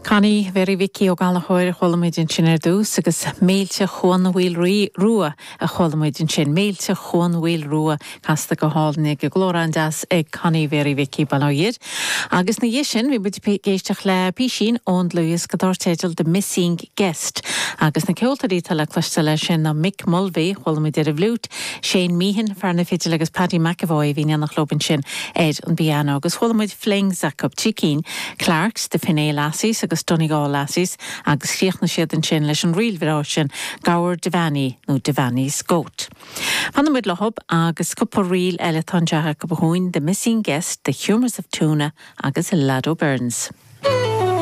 Connie Mhéaraí Mhicí Ó Gallchóir a chuala muid ansin ar dtús agus Méilte Chuan Mhaoil Rua a chuala muid ansin. Méilte Chuan Mhaoil Rua casta go hálainn ag glór an-deas ag Connie Mhéaraí Mhicí, bail ó Dhia air. Agus ina dhiaidh sin bhí muid ag éisteacht le písín ón dlúthdhiosca dar teideal The Missing Guest agus na ceoltóirí atá le cloisteáil air sin ná Mick Mulvey, chuala muid ar an bhfliúit, Shane Meehan, fear na fidile agus Paddy McEvoy a bhí in éineacht leo ansin ar an bpianó. Agus chuala muid flings acu, trí cinn, Clarkes, The Finea Lassies agus Donegal Lassies agus chríochnaigh siad ansin leis an ríl bhreá sin, Gabhar Devaney nó Devaney's Goat. Fanfaidh muid leo agus cúpla ríl eile atá anseo acu chugainn, The Missing Guest, The Humours of Tuna agus Lado Burns.